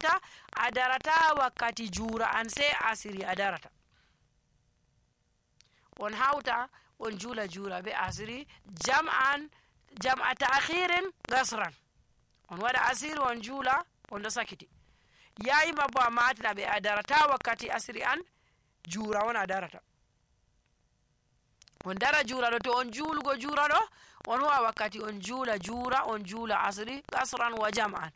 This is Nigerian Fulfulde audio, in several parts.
hawta a darata wakkati juura an sey asiri a darata. on hawta on juula juura be asiri jam'a ta'khirin gasran. on waɗa asiri on juula on ɗo sakiti. yayi mabbo a matina ɓe a darata wakkati asiri an juura on a darata. on dara juura ɗo to on juulugo juura ɗo on huwa wakkati on juula juura on juula asiri gasran wa jam'an.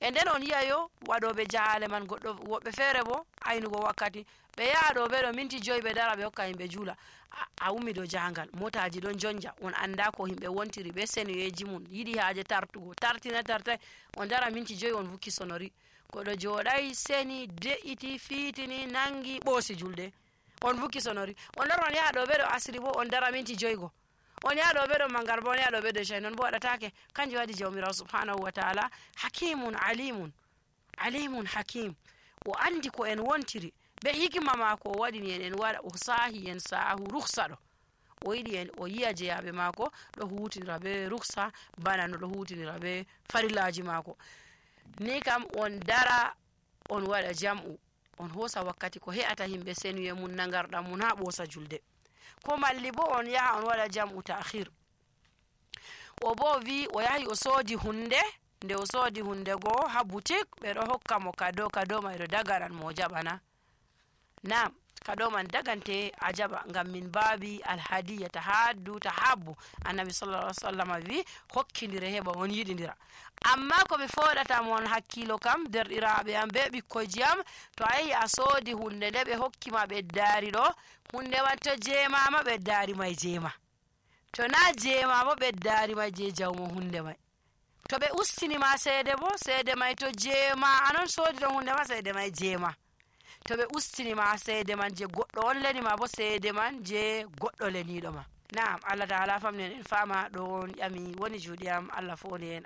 e nden on yi'ayo waɗoɓe jahale man woɓɓe feere bo aynugo wakkati ɓe yaha ɗo ɓe ɗo minti 5 ɓe dara ɓe hokka himɓe juula. a ummi dow jahangal motaji ɗon jonja on anda ko himɓe wontiri be senuyeji mum yiɗi haaje tartugo tartai on dara minti 5 on vukki sonori goɗɗo jooɗai seni de'iti fiitini nangi ɓoosi julde on vukki sonori. on lora on yaha ɗo ɓe ɗo asiri bo on dara minti 5 go. on yaha ɗo ɓe ɗo mangar bo on yaha ɗo ɓe ɗo shay non bo waɗatake. kanjum waɗi jawmirawo subhanahu wa ta'ala hakimun alimun hakim. o andi ko en wontiri be hikima maako o waɗini en waɗa o sahi en sahu ruksa ɗo o yiɗi en o yi'a jeyaɓe maako ɗo hutinira be ruksa bana no ɗo hutinira be farillaji maako. ni kam on dara on waɗa jam'u on hosa wakkati ko he'ata himɓe senuye mum nagarɗam mum ha ɓoosa julde. ko malli bo on yaha on waɗa jam'u ta'khir. o bo wi o yahi o soodi hunde nde o soodi hunde go ha boutique ɓe ɗo hokka mo kado mai ɗo dagaran mo jaɓana. nam kado man dagante a jaɓa ngam min baabi alhadiya tahabbu. annabi sallallahu alaihi wasallam wi hokkidire heɓa on yiɗidira. amma ko mi foɗata mon hakkilo kam derɗiraɓe am be ɓikkoyji am to a yehi a soodi hunde nde ɓe hokkima ɓeddaari ɗo hunde man to jeemama ɓeddaari may jeema, to na jeema bo ɓeddaari may je jawmo hunde may. to ɓe ustinima seede bo seede may to jeema anon soodi ɗon hunde ma seede may jeema. to ɓe ustinima seede man je goɗɗo on lenima bo seede man je goɗɗo leniɗo ma. Naam, Allah ta'ala famnen en fama ɗo on ƴami woni juuɗe am Allah foni en.